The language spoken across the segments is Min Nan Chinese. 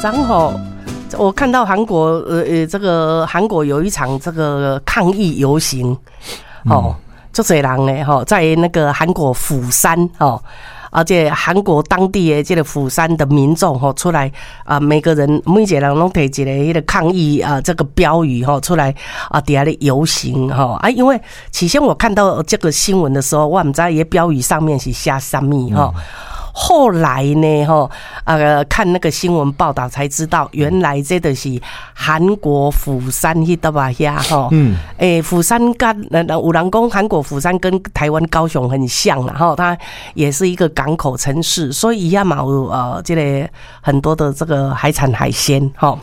然後我看到韓國，這個韓國有一場這個抗議遊行，哦，足濟人咧，吼，在那個韓國釜山，吼，而且韓國當地的這個釜山的民眾，吼，出來啊，每個人每一個人攏提一个彼個抗議啊，這個標語，吼，出來啊，佇遐咧遊行，吼啊，因為起先我看到這個新聞的時候，我毋知伊個標語上面是寫啥物，吼。後來呢，吼，看那個新聞報道才知道，原來這就是韓國釜山彼搭仔遐，吼，欸，釜山佮有人講韓國釜山跟台灣高雄很像啦，吼，它也是一個港口城市，所以伊遐嘛有這個很多的這個海產海鮮，吼，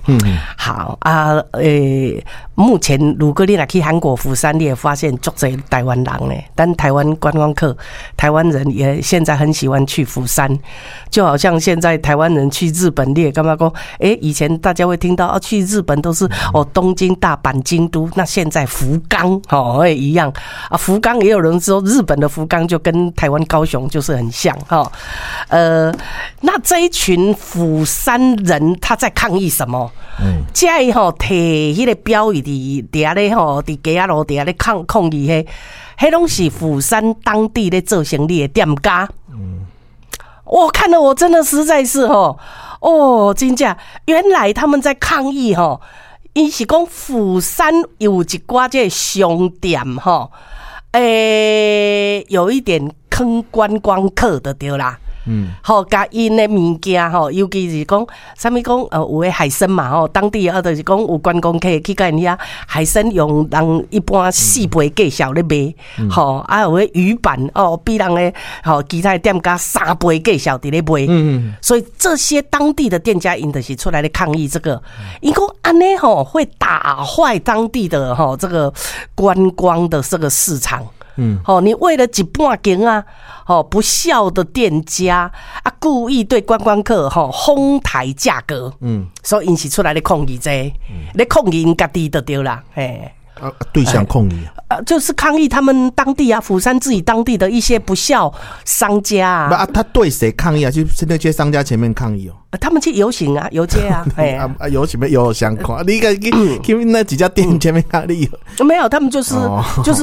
好啊，欸，目前如果你若去韓國釜山，你會發現足濟台灣人咧，但台灣觀光客，台灣人也現在很喜歡去釜山。就好像現在台灣人去日本，你會感覺講，欸，以前大家會聽到哦，去日本都是哦東京、大阪、京都，那現在福岡哦會一樣啊，福岡也有人說日本的福岡就跟台灣高雄就是很像哈，那這一群釜山人他在抗議什麼？這个吼提彼個標語佇佇遐咧吼，佇街仔路佇遐咧抗議彼，彼攏是釜山當地咧做生意的店家。我看了我真的實在是吼，哦，真正原來他們在抗議吼，𪜶是講釜山有一寡這個商店吼，欸，有一點坑觀光客的對啦。吼，共𪜶的物件吼，尤其是講啥物講，有的海參嘛吼，當地啊，就是講有觀光客去共𪜶遐海參用人一般四倍價數咧賣，吼，啊有的魚板哦，比人的吼其他的店家三倍價數佇咧賣，所以這些當地的店家𪜶就是出來咧抗議這個，𪜶講按呢吼會打壞當地的吼這個觀光的這個市場。吼，你為了一半間啊，吼不肖的店家啊，故意對觀光客吼哄抬價格，所以𪜶是出來咧抗議這個，咧抗議𪜶家己就對啦，嘿。啊，對象抗議啊，就是抗議他們當地啊，釜山自己當地的一些不肖商家啊。啊，他對誰抗議啊？就是那些商家前面抗議哦。他們去遊行啊，遊街啊，哎啊，遊行有相關？你個去那幾家店前面抗議？沒有，他們就是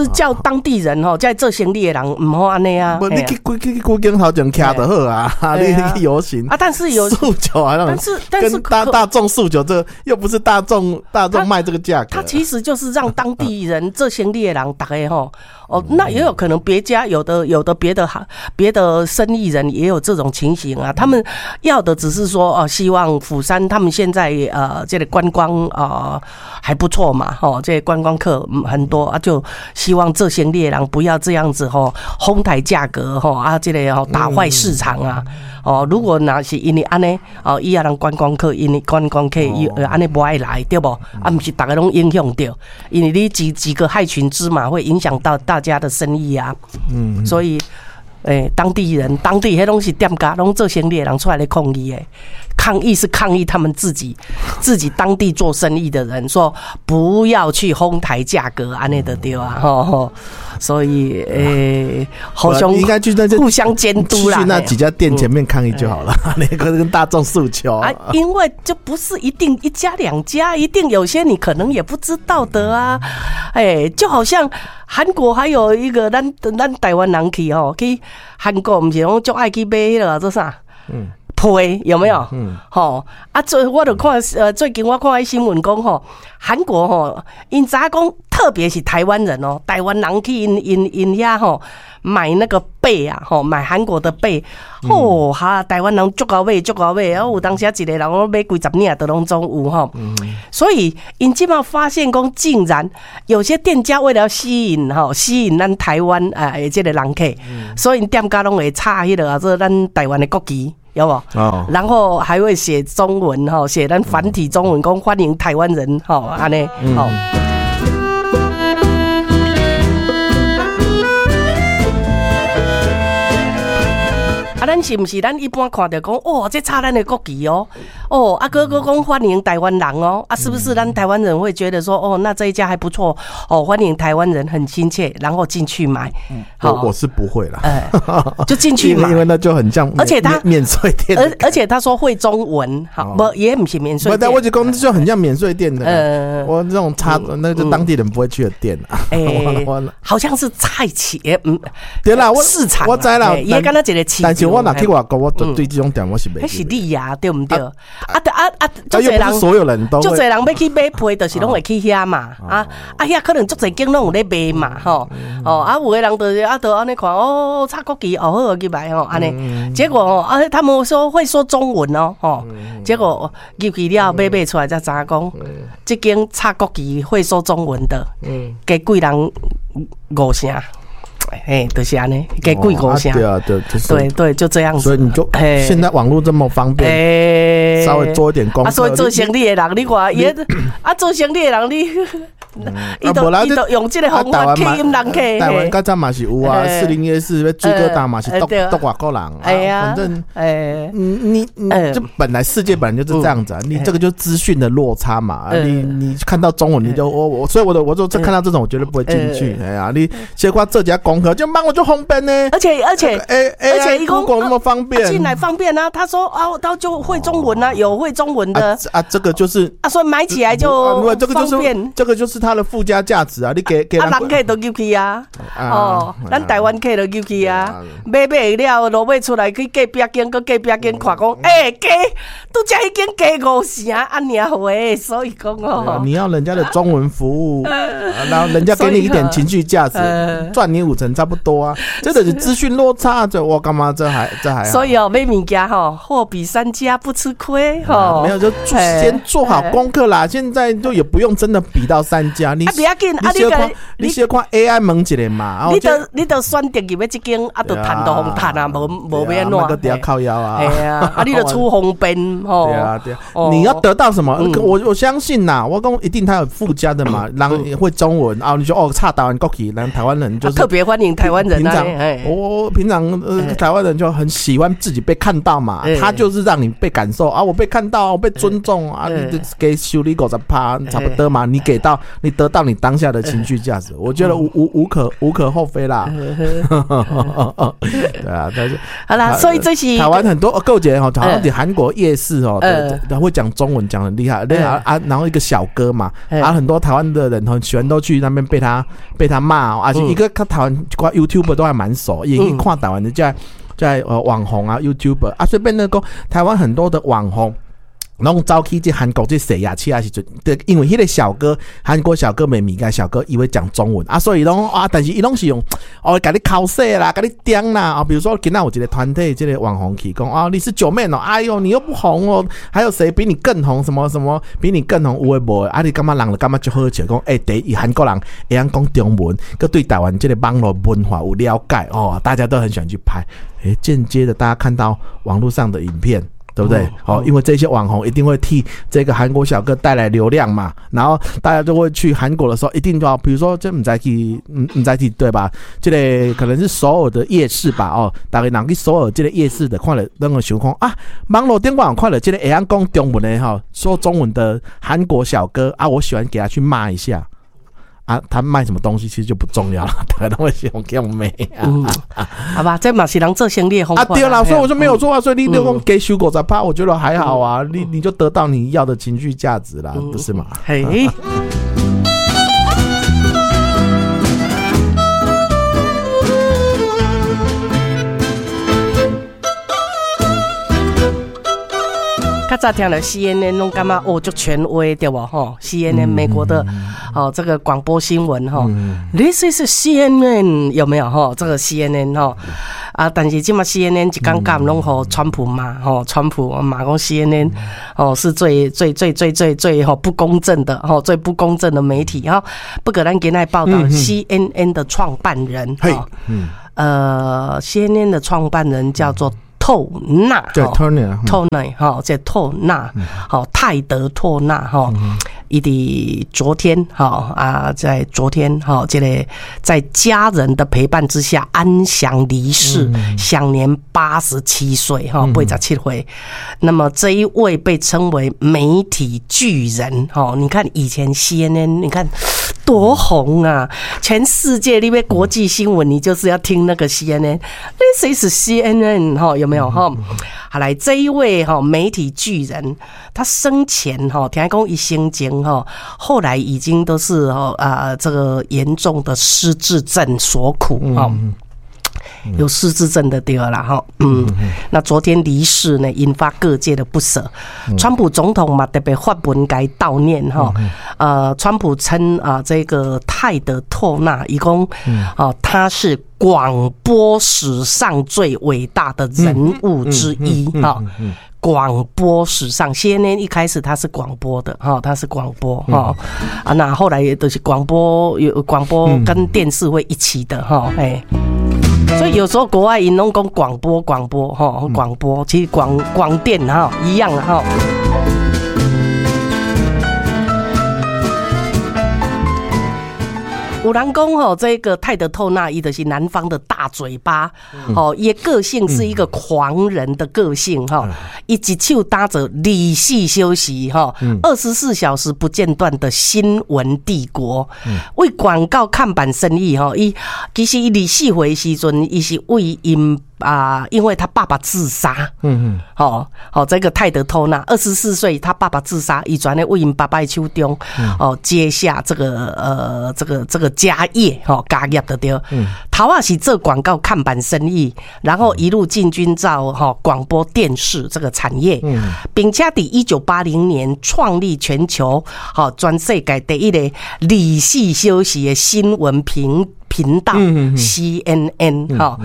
叫當地人吼，在做生意的人毋好按呢啊。無，你去去去古井頭前徛就好啊，你去遊行啊，但是有訴求啊，但是但是跟大眾訴求，這又不是大眾賣這個價格。他其實就是讓當地人做生意的人，逐家吼哦，那也有可能別家有的別的行別的生意人也有這種情形啊，他們要的只是說哦，希望釜山他們現在這個觀光啊還不錯嘛，吼，這個觀光客很多啊，就希望做生意的人不要這樣子吼哄抬價格吼啊，這個吼打壞市場啊。哦，如果若是因為按呢，哦，以後人觀光客，因為觀光客伊按呢無愛來，對無？啊，毋是逐家攏影響著，因為你幾個害群之馬會影響到大家的生意啊。所以，欸，當地人、當地彼攏是店家，攏做生意的人出來咧抗議的，抗議是抗議他們自己當地做生意的人，說不要去哄抬價格，按呢就對啊，吼吼。所以，欸，好像應該去那互相監督啦，去那幾家店前面抗議就好了。那個跟大眾訴求啊，因為就不是一定一家兩家，一定有些你可能也不知道的啊。欸，就好像韓國還有一個咱台灣人去吼，去韓國毋是講足愛去買彼個做啥？被有沒有？吼啊！我就看最近我看彼新聞講吼，韓國吼，𪜶知影講，特別是台灣人哦，台灣人去𪜶遐吼買那個被啊，吼買韓國的被，吼哈，台灣人足𠢕買足𠢕買，啊有當時一個人攏買幾十領都攏總有吼。所以𪜶這馬發現講，竟然有些店家為了吸引咱台灣啊這個人客，所以𪜶店家攏會插彼個啊，做咱台灣的國旗。有無？哦，然後還會寫中文吼，寫咱繁體中文，講歡迎台灣人吼，按呢吼。啊，啊，咱是毋是咱一般看著講，哦，這插咱的國旗哦，哦，啊，閣閣講歡迎台灣人哦，啊，是不是咱台灣人會覺得說，哦，那這一家還不錯，哦，歡迎台灣人很親切，然後進去買。我是不會啦，就進去買，因為那就很像，而且他免稅店，而且他說會中文，好，不也毋是免稅店。但我就講就很像免稅店的，我這種差，那就當地人不會去的店啊。欸，好像是菜市，對啦，我市場，我知啦，伊敢若一個市場。但是我若去外國，我對這種店我是袂。彼是你呀，對毋對？啊啊啊！足濟人，所有人都足濟人欲去買被，就是攏會去遐嘛。啊啊，遐可能足濟間攏有咧賣嘛，吼。哦，啊，有的人就是啊，就按呢看，哦，插國旗，哦，好入來吼，按呢。結果哦，啊，他們說會說中文哦，吼。結果入去了，買買出來才知影講，這間插國旗會說中文的，加貴人五成。哎，就是按呢，加貴五成。對啊，對，對對，就這樣子。所以你就現在網絡這麼方便，稍微做一點功課。啊，所以做生意的人，你看伊啊，做生意的人你，伊都伊都用這個方法吸引人客。台灣較早嘛是有啊，士林夜市水果檔嘛是都都外國人。哎呀，反正哎，你你這本來世界本來就是這樣子啊，你這個就資訊的落差嘛。你看到中文你就我我，所以我的我就看到這種我絕對不會進去。哎呀，你結果這家功課就幫我就方便呢。而且而且 Google 那麼方便，進來方便啊。他說啊，他就會中文啊，有會中文的啊，這個就是啊，所以買起來就這個就是這個就是它的附加價值啊。你給給啊，人客都入去啊，哦，咱台灣客都入去啊，買買了，落尾出來去隔壁間，閣隔壁間看講，欸，加，拄才彼間加五成，按呢話，所以講哦，你要人家的中文服務，然後人家給你一點情緒價值，賺你五成差不多啊。這個是資訊落差，這我幹嘛？這還所以哦，買物件吼，貨比三家不吃虧吼。沒有就先做好功課啦。現在就也不用真的比到三家，你啊，不要緊，啊，你看你小看 AI 問一下嘛，你著選擇入去這間，啊，著趁著予趁啊，無無欲按怎？閣佇遐靠腰啊。係啊，啊，你著取方便吼。對啊，對啊，你要得到什麼？我相信吶，我講一定他有附加的嘛，人會中文啊，你說哦，插台灣國旗，人台灣人就是特別歡迎台灣人。平常我平常台灣人就很喜歡自己被看到嘛，他就是讓你被感受啊，我被看到，我被尊重啊，你給收你50%差不多嘛，你給到你得到你當下的情緒價值，我覺得無可厚非啦。對啊，但是好啦，所以這是台灣很多購姐吼，好像佇韓國夜市哦，對，會講中文講很厲害，啊啊，然後一個小哥嘛，啊，很多台灣的人很喜歡都去那邊被他罵，而且一個看台灣掛 YouTuber 都還蠻熟，也一看台灣的在網紅啊 YouTuber 啊，隨便那個台灣很多的網紅。攏走去這韓國這踅夜市啊時陣，對，因為彼個小哥，韓國小哥賣物件小哥，伊會講中文啊，所以攏啊，但是伊攏是用哦，共你剾洗啦，共你點啦啊，比如說今仔有一個團體，這個網紅去講啊，你是九妹哦，哎喲，你又不紅哦，還有誰比你更紅？什麼什麼比你更紅？有的無的啊？你感覺人就感覺足好笑，講欸，第一韓國人會曉講中文，閣對台灣這個網絡文化有了解哦，大家都很喜歡去拍，欸，間接的大家看到網絡上的影片。對不對？好，因為這些網紅一定會替這個韓國小哥帶來流量嘛，然後大家就會去韓國的時候，一定就要，比如說這毋知去，毋知去對吧？這個可能是首爾的夜市吧？哦，逐家人去首爾這個夜市的，看了攏會想講啊，網絡頂懸看著這個會曉講中文的哈，說中文的韓國小哥啊，我喜歡給他去罵一下。啊，他賣什麼東西其實就不重要了，大家都會喜歡給我罵。嗯，好吧，這嘛是人做生意的方法。啊，對啦，所以我就沒有錯啊，所以你六公給修狗在怕，我覺得還好啊，你就得到你要的情緒價值啦，不是嗎？嘿。較早聽著 CNN 攏感覺哦，足權威對無吼？CNN 美國的哦，這個廣播新聞吼，This is CNN 有沒有吼？這個 CNN 吼啊，但是這馬 CNN 一工到晚攏予川普罵吼，川普罵講 CNN 哦是最最最最最最吼不公正的吼，最不公正的媒體哈。不過咱今仔報導 CNN 的創辦人，CNN 的創辦人叫做透納，對，托納，托納，哈，這透納，好，泰德·托納，哈，伊佇昨天哈啊，在昨天哈，這個在家人的陪伴之下安詳離世，享年87歲哈，87歲。那麼這一位被稱為媒體巨人哈，你看以前 CNN，你看多紅啊！全世界那邊國際新聞，你就是要聽那個 CNN。This is CNN 哈，有沒有哈？好來，這一位哈媒體巨人，他生前哈聽講伊生前哈，後來已經都是哈啊這個嚴重的失智症所苦哈。有失智症的對啦哈，那昨天離世呢，引發各界的不捨。川普總統嘛特別發文共伊悼念哈，川普稱啊這個泰德托納，伊講哦他是廣播史上最偉大的人物之一哈。廣播史上，CNN 一開始它是廣播的哈，它是廣播哈啊，那後來也都是廣播，有廣播跟電視會一起的哈，哎。所以有時候國外𪜶攏講廣播廣播哈廣播，其實廣電哈一樣哈。有人講吼，這個泰德透納伊就是南方的大嘴巴，哦，伊個性是一個狂人的個性哈，伊一手打造24小時哈，24小時不間斷的新聞帝國，為廣告看板生意哈，伊其實伊24歲時陣，伊是為𪜶啊，因為他爸爸自殺，好，好，這個泰德托納24歲，他爸爸自殺，伊轉咧為𪜶爸爸的手中，哦，接下這個家業，吼，家業就對。頭仔是做廣告看板生意，然後一路進軍到吼廣播電視這個產業，並且佇1980年創立全球，吼全世界第一個24小時的新聞頻道 CNN 哈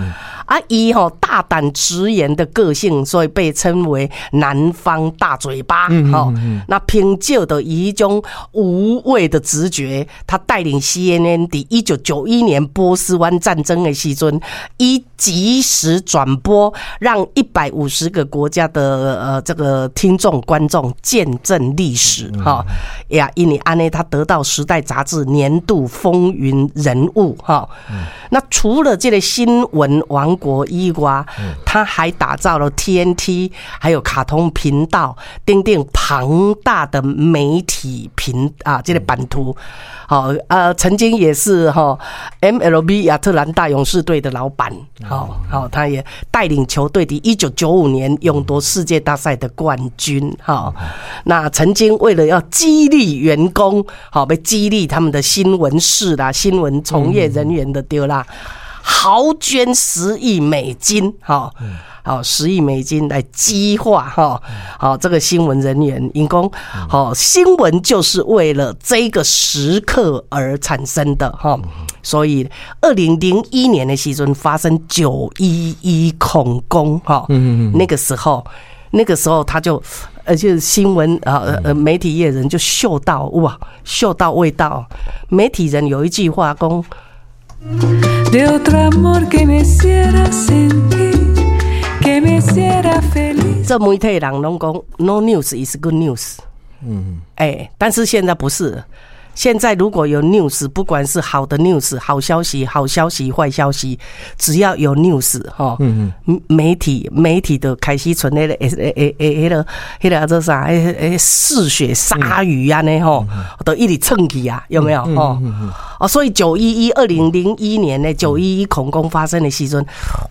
啊，伊吼大膽直言的個性，所以被稱為南方大嘴巴。哈，那憑借著伊種無畏的直覺，他帶領 CNN 佇1991年波斯灣戰爭的時陣，以即時轉播，讓150個國家的這個聽眾觀眾見證歷史。哈呀，因為按呢，他得到《時代》雜誌年度風雲人物。哈。那除了這個新聞王國以外，他還打造了 TNT，還有卡通頻道，訂定龐大的媒體頻啊，這個版圖。好，曾經也是哈 MLB 亞特蘭大勇士隊的老闆。好，好，他也帶領球隊佇1995年勇奪世界大賽的冠軍。哈，那曾經為了要激勵員工，好，被激勵他們的新聞室啦、新聞從業人員的對啦，豪捐10億美金，哈，好，十億美金來激化哈，好，這個新聞人員，𪜶講，好，新聞就是為了這個時刻而產生的哈，所以2001年的時陣發生911恐攻哈，那個時候他就，就是新聞啊，媒體業人就嗅到哇，嗅到味道。媒體人有一句話講。De otro amor que me hiciera sentir, que me hiciera feliz。這媒體人攏講，No news is good news。哎，但是現在不是。現在如果有 news，不管是好的 news、好消息、好消息、壞消息，只要有 news，哈，媒體就開始賰那個會會會彼個彼個叫做啥？欸欸嗜血鯊魚按呢吼，都一直衝去啊，有沒有？吼，哦，所以9112001年呢，九一一恐攻發生的時陣，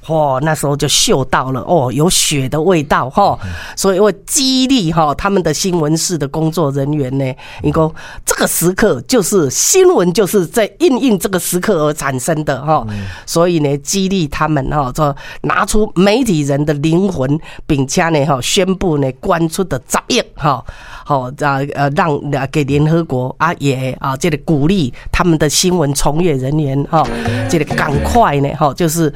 哇，那時候就嗅到了哦，有血的味道哈，所以會激勵哈他們的新聞室的工作人員呢，伊講這個時刻就是新聞就是在因應這個時刻而產生的哈，所以呢，激勵他們哈，就拿出媒體人的靈魂，並且呢哈，宣布呢，捐出的10億哈，好啊讓給聯合國啊也啊這個鼓勵他們的新聞從業人員哈，這個趕快呢哈，就是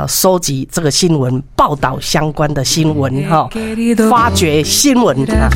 收集這個新聞報道相關的新聞哈，發掘新聞啊。